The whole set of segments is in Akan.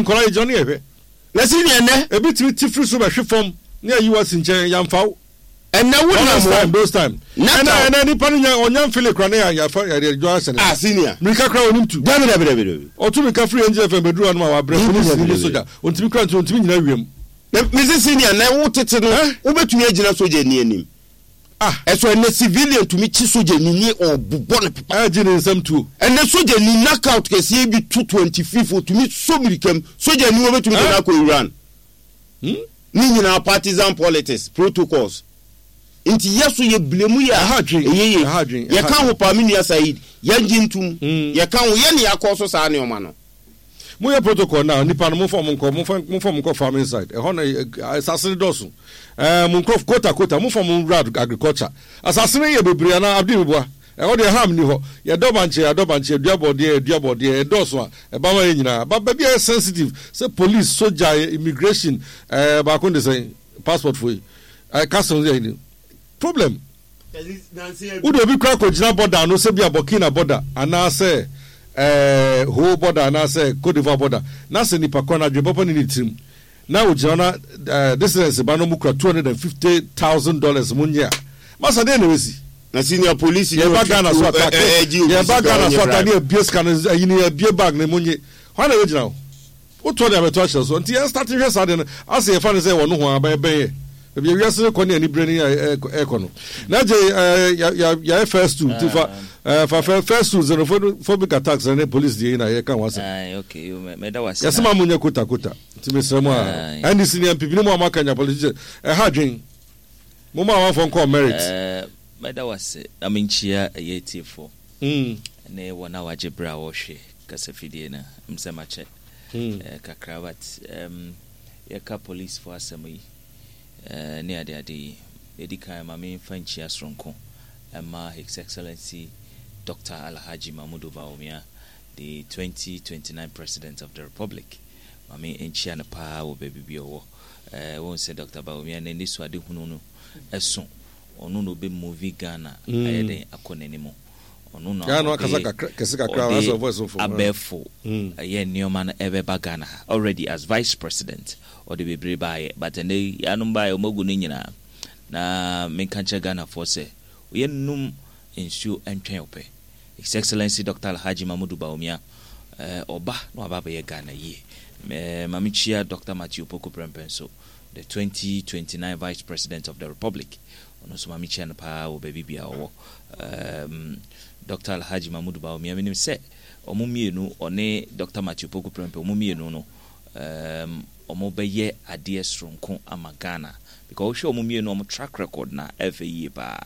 Nkwadaa yi gyina ne yɛhwɛ. Na sɛnea ɛnnɛ. Ebi tumi te firi soro bɛhwe fam ne ayi wo asi nkyɛn, yɛamfa wo. Ɛnnɛ wo nam Those hɔ. time, those time. Na Ɛnɛ, ta. ɛnɛ nipa no nya, ɔnya mfele koraa ne yɛ, yɛafa, yɛde adwa ahyɛ ne Ah, nsa. senior. Mirika koraa ɔnim tu. Dabi, dabi, dabi, dabi. Ɔtu mirika firi NGFM bɛduru hanom a wabrɛ, Dabi, polisi dabi, ne dabi. sogya. Ɔntumi koraa nti, ɔntumi nyina wiem. Na mese senior, na wo tete no, Eh? wobɛtumi agyina sogyani anim. Ah! Ɛso ɛnɛ civilian tumi kye sogyani ne ɔbobɔ no pepa. Ɛgye ne nsam tuo. Ɛnɛ sogyani knockout kɛseɛ bi to 25 otumi sɔ mirika mu. Sogyani wɔbɛtumi de no akɔ Iran. Hmm? Ne nyinaa partisan politics, protocols. Nti yɛ so yɛ blame yɛ a Ɛha adwen, ɛyɛ yie. ɛha adwen, ɛha Yɛka adwen. ho paa me nua Said, yɛngye ntom. Yɛka ho, yɛ ne yɛakɔ so saa nneɛma no. Mo yɛ protocol na nipa no momfa ɔmo nkɔ momfa momfa ɔmo nkɔ farming side ɛhɔ na asase no dɔɔso ɛɛ mo nkorɔfo quota quota momfa ɔmo nwura agriculture asase no yɛ bebree anaa Abdi meboa ɛhɔ deɛ ham ni hɔ yɛdɔ bankye yɛadɔ bankye yɛdua bɔdeɛ yɛdua bɔdeɛ ɛdɔɔso a ɛba ma yɛ nyinaa ba baabi a ɛyɛ sensitive sɛ police soja immigration ɛɛ baako de sɛn passport fo yi ɛɛ customs yɛ problem. Wode obi koraa kɔgyina bɔda ano sɛ bia Burkina bɔda anaasɛ ɛɛ Ho bɔda anaasɛ Cote d'Ivoire bɔda na sɛ nipa korɔ no adwene papa nni ne tirim na ogyina hɔ na ɛɛ dissidents ba no ɔmo kura $250,000 mo nye a masa deɛ na ɛbɛsi? Na senior police ni Yɛba ɔtwe Ghana so tuo ata ɛ ɛ ɛgye obi yɛba sika Ghana ɔnyɛ so ata bribe. ne abue sika no ayi ne abue bag no mo nye hwan na ɛbɛgyina hɔ? Wotɔ de abɛto ahyɛ so. Nti yɛn start nhwɛ saa deɛ no asɛ yɛfa no sɛ ɛwɔ nohoa but ɛbɛn yɛ. Baabi a wiase no kɔ ne anibere ne ɛkɔ no. Na gye yɛayɛ first two nti fa fa first two xenophobic attacks ne police deɛ yi na yɛka ho asɛm. Okay, mɛda wase. Yɛsɛ ma mo nyɛ kota kota. Nti mesrɛ mo a NDC ne NPP ne mo a moaka nya politician ɛha adwen. Mo ma amanfoɔ nkɔ merit. Mɛda wase na menkyia ɛyɛ atiefoɔ ne wɔn a wɔagye berɛ a wɔhwɛ kasafidie no. Mesɛ makyɛ. eh, kakra but um, yɛka police fo asɛm yi eh, ne ade ade yi ɛdi kan ma memfa nkyia soronko ɛma His Excellency Dr. Alhaji Mahmudu Bawumia the 2029 President of the Republic ma me nkyia no paa wɔ baabi bi ɔwɔ eh, wɔn sɛ Dr. Bawumia n'ani so ade hunu no ɛso ɔno na ɔbɛ movie Ghana ayɛ den akɔ n'anim Ɔno na ɔde ɔde abɛɛfo ɛyɛ nneɛma no ɛbɛba Ghana ha already as vice president ɔde bebree baayɛ but ɛnɛ yi yanom baayɛ wɔn agu ne nyinaa na menka nkyerɛ Ghanafoɔ sɛ yɛ nnom nsuo ntwɛn ɔpɛ His Excellency Doctor Alhaji Mamudu Bawumia ɛɛ ɔba na waba abɛyɛ Ghana yie ɛɛ ma mekyia Doctor Matthew Opoku Prempeh nso the 2029 Vice President of the Republic Ɔno nso ma mekyia no paa wɔ baabi biara ɔwɔ. Um, Dr. Alhaji Mahmoud Bawumia, menim sɛ wɔn mmienu, ɔne Dr. Matthew Poku Prempeh, wɔn mmienu no, um, wɔn bɛyɛ adeɛ soronko ama Ghana. Because wohwɛ wɔn mmienu, wɔn track record na ɛfɛ yie paa.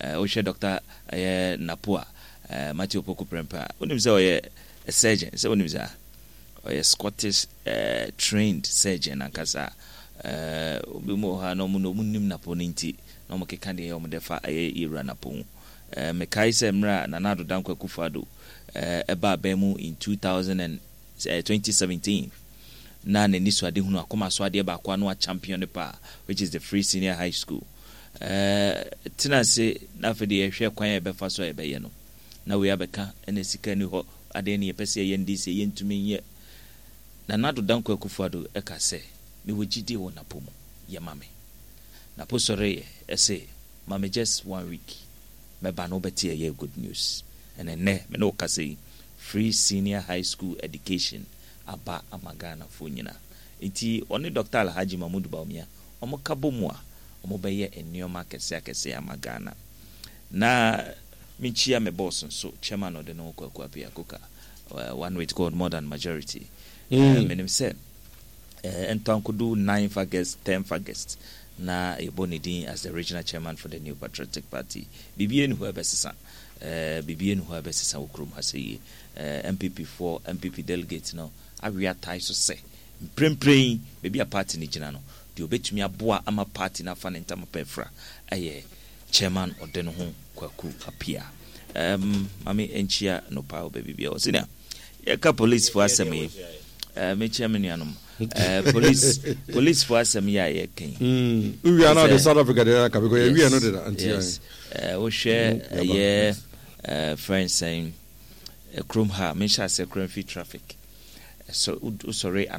Uh, wohwɛ Dr. ɛyɛ Napo a, uh, Matthew Poku Prempeh a, wonim sɛ ɔyɛ a surgeon, sɛ wonim saa? Ɔyɛ Scottish eh, trained surgeon ankasa. Eh, obi mu wɔ hɔ a na ɔmo na ɔmo nim Napo no nti na ɔmo keka deɛ ɛyɛ ɔmo dɛ fa ɛyɛ Yewura Napo ho. Eh, mekae sɛ mmerɛ a Nana Addo Dankwa Akufo Addo eh, ɛbaa aban mu in 2000 and, eh, 2017 na n'anisoadehunu akoma so adeɛ baako a na wachampion no paa which is the Free Senior High School. Eh, tena ase na afei deɛ yɛhwɛ kwan a yɛbɛfa so a yɛbɛyɛ no na wei abɛka ɛna sika ni hɔ Adɛn ne yɛpɛ sɛ yɛyɛ no de sɛ yɛntumi nyɛ? Nana Addo Dankwa Akufo-Addo ka sɛ, Mewɔ gyidie wɔ Napo mu, yɛ ma me. Napo sɔreeɛ se, Ma me just one week, mɛba na wobɛte ɛyɛ good news. And ɛnnɛ me ne wo kasa yi, free senior high school education aba ama Ghanafoɔ nyina. Nti ɔne Doctor Alhaji Mahmood Bawumia, wɔka bɔ mu a, wɔbɛyɛ nneɛma akɛseɛ akɛseɛ ama Ghana. Na Mekyia me boss nso, chairman ɔde ne ho Kwaku Appiah Koka, one with God more than majority. Menim sɛ ɛntɔ ankodu 9th August, 10th August na yɛbɔ ne din as the regional chairman for the New Patriotic Party. Biribi nni hɔ a ɛbɛsesa, biribi nni hɔ a ɛbɛsesa wɔ kurom ha sɛ yie. NPP foɔ, NPP delegate no awe atae so sɛ mprempren yi baabi a party no gyina no, deɛ ɔbɛtumi aboa ama party no afa ne ntama pa afira yɛ Chairman Ɔdenoho Kwaku Appiah. Um, ma me nkyia no paa wɔ baabi biara. Ɔsɛ nea yɛka police fo asɛm yi. Eh, mekyia me nuanom. Eh, police police fo asɛm yi a yɛka yi. Wia na de South Africa de aka because yɛwia no de na nti. Yes. Eh, wohwɛ ɛyɛ eh, friends sɛn kurom ha mehyɛ ase kura mfi traffic. Wosɔre ano.